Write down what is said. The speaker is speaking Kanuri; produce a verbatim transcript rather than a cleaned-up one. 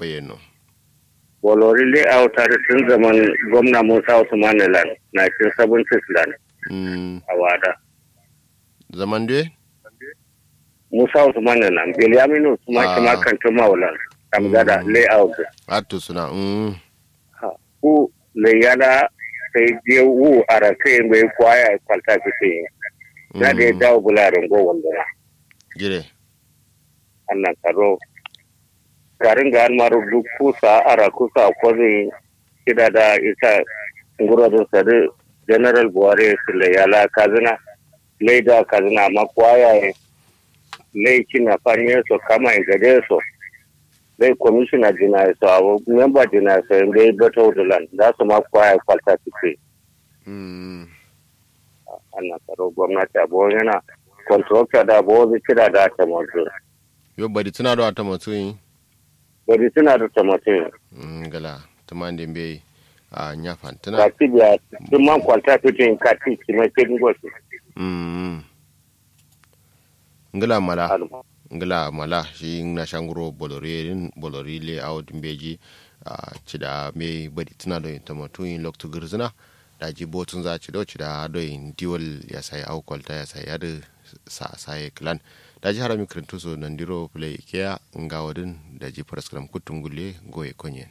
bayyano. Bolori layout adǝ tun zaman gomna musa usman ne lan nineteen seventies lan. Mm. Awada. Zaman dwe? Musa usman ne lan bilyaminu usman shima kantin mawu lan. Kamgada layout. Attu suna. Mm. Ha, ku laiyala sai je wu arakai bai kwaya kwalta kike yi. Na da ya dawo bula rango wanduna. Jire. Annan karo garin ga almaru duk kusa ara kusa kozin kida da isa nguro din sadi general buhari su laiyala kazina. Laida kazina amma kwaya ya lai kina fanye so kama gade so. Lai commissioner jina so awo member jina so bai batau da lan da su ma kwaya kwalta kike. Mm. Annan karo gwamnati abu yana contractor da abu wanzu kira da ta manzu. Yo bari tuna da ta manzu yi. Bari tuna da ta manzu yi. Mm, gala tuman da bai a nya fantuna. Kati biya tuman kwalta fitin kati kima ke dingo su. Mm. Ngla mala. Ngla mala shi na shanguro bolori din bolori le awo din beji. A cida me bari tuna do yin tamatu yin loktu girzina. Daji botun za cido cida do yin diwal ya sai awo kwalta ya sai yadu sa sai clan. Daji harami kirintu so nandiro play keya ngawo din. Daji paraskram kutun gulle goye konyen.